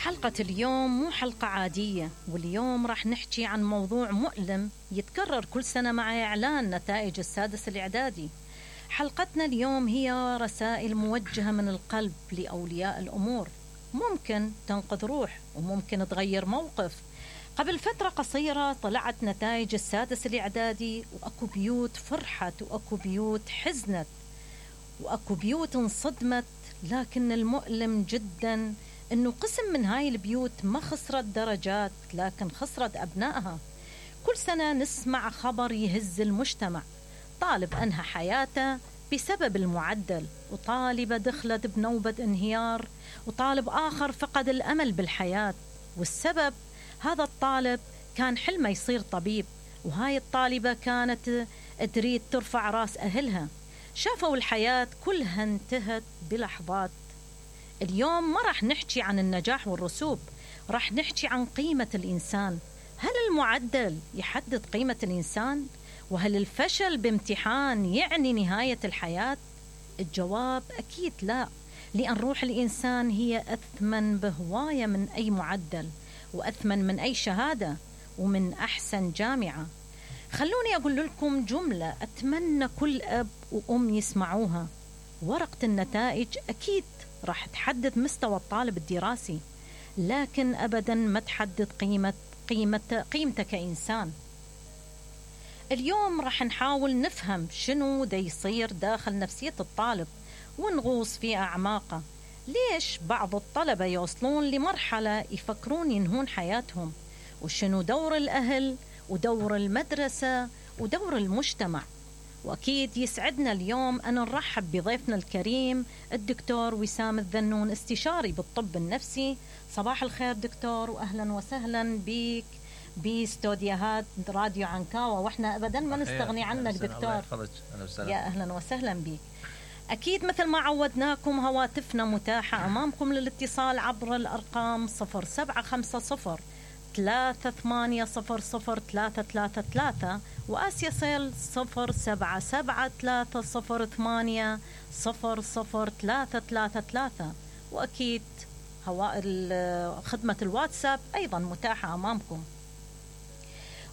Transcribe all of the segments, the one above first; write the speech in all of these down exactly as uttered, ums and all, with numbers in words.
حلقة اليوم مو حلقة عادية، واليوم راح نحكي عن موضوع مؤلم يتكرر كل سنة مع إعلان نتائج السادس الإعدادي. حلقتنا اليوم هي رسائل موجهة من القلب لأولياء الأمور، ممكن تنقذ روح وممكن تغير موقف. قبل فترة قصيرة طلعت نتائج السادس الإعدادي، وأكو بيوت فرحت وأكو بيوت حزنت وأكو بيوت انصدمت، لكن المؤلم جدا إنه قسم من هاي البيوت ما خسرت درجات لكن خسرت أبنائها. كل سنة نسمع خبر يهز المجتمع، طالب أنهى حياته بسبب المعدل، وطالبة دخلت بنوبة انهيار، وطالب آخر فقد الأمل بالحياة. والسبب هذا الطالب كان حلمه يصير طبيب، وهاي الطالبة كانت تريد ترفع راس أهلها. شافوا الحياة كلها انتهت بلحظات. اليوم ما راح نحكي عن النجاح والرسوب، راح نحكي عن قيمة الإنسان. هل المعدل يحدد قيمة الإنسان؟ وهل الفشل بامتحان يعني نهاية الحياة؟ الجواب أكيد لا، لأن روح الإنسان هي أثمن بهواية من أي معدل، وأثمن من أي شهادة، ومن أحسن جامعة. خلوني أقول لكم جملة أتمنى كل أب وأم يسمعوها: ورقة النتائج أكيد راح تحدد مستوى الطالب الدراسي، لكن أبدا ما تحدد قيمة قيمة قيمته كإنسان. اليوم راح نحاول نفهم شنو دا يصير داخل نفسية الطالب، ونغوص في أعماقه. ليش بعض الطلبة يوصلون لمرحلة يفكرون ينهون حياتهم؟ وشنو دور الأهل ودور المدرسة ودور المجتمع؟ وأكيد يسعدنا اليوم أن نرحب بضيفنا الكريم الدكتور وسام الذنون، استشاري بالطب النفسي. صباح الخير دكتور، وأهلا وسهلا بك باستوديوهات راديو عنكاوة، وإحنا أبدا ما نستغني عنك دكتور. يا أهلا وسهلا بك. أكيد مثل ما عودناكم هواتفنا متاحة أمامكم للاتصال عبر الأرقام صفر سبعة خمسة صفر ثلاثة ثمانية صفر صفر ثلاثة ثلاثة ثلاثة، وآسيا سيل صفر سبعة سبعة ثلاثة صفر ثمانية صفر صفر ثلاثة ثلاثة ثلاثة. وأكيد هواء خدمة الواتساب أيضا متاحة أمامكم.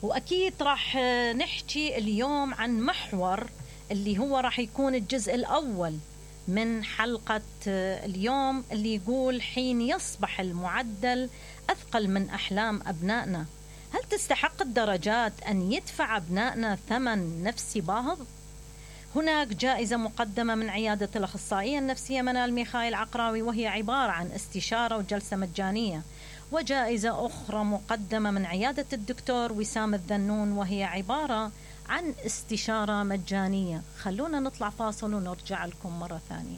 وأكيد راح نحكي اليوم عن محور اللي هو راح يكون الجزء الأول من حلقة اليوم، اللي يقول: حين يصبح المعدل أثقل من أحلام أبنائنا، هل تستحق الدرجات أن يدفع أبنائنا ثمن نفسي باهظ؟ هناك جائزة مقدمة من عيادة الأخصائية النفسية منال ميخائيل عقراوي، وهي عبارة عن استشارة وجلسة مجانية، وجائزة أخرى مقدمة من عيادة الدكتور وسام الذنون، وهي عبارة عن استشارة مجانية. خلونا نطلع فاصل ونرجع لكم مرة ثانية.